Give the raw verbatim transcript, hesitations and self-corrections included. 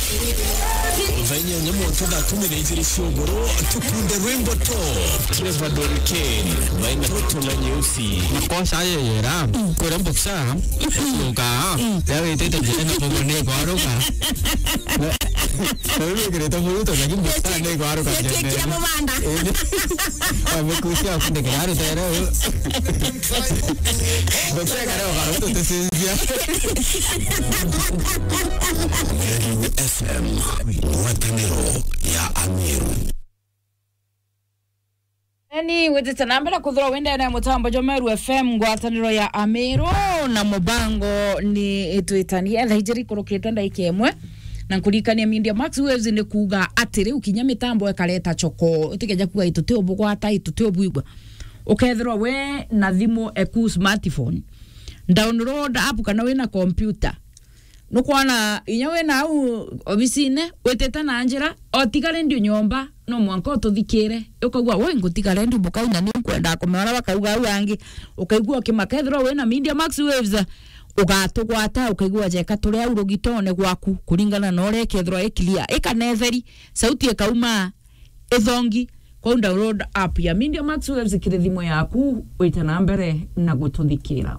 Thaa inyanya mwanka thaa kumi na ijiri cia ugoro, tukunde rwimbo to Trevor Doriken, baina Toto na Nyeusi. Makosa ayo yera, kure mboksa, uka, ya witete njene na bobo ne kwaruka. Na, na wewe kireta muruto, lakini mboksa ne kwaruka. Yetekia mubanda. Amekusia kunde kiraro tero. Mboksa kare ukaruto tesinzia. Meru F M, ngwataniro ya Ameru. Eni witite na mbere kuthirwa wendene mutambo jwa Meru F M, ngwataniro ya Ameru, na mubango ni itwitanie thaa ijiri kurukite ndaika imwe, na nkurikania Media Max Waves ni kuuga atiri, ukinya mitambo ikareta choko, utikeja kuuga ituti ubugwata, ituti ubwigua. Ukethirwa we na thimu eku smartphone, download app kana wina computer, nukwona inya wina au obisine, witite na njira, otiga redio nyomba, no mwanka ututhikire. Ukaigua, "Woi, ngutiga redio bukai, na ni nkwenda kumenya uria bakauga au angi." Ukaigua ukimaka, ethirwa wina Media Max Waves, ugatugwata, ukaigua jeka turi au rugitone gwaku, kuringana na uria ikethirwa i clear, ikanetheri, sauti ikauma, ithongi. Kwou download app ya Media Max Waves kiri thimu yaku, wite na mbere na gututhikira.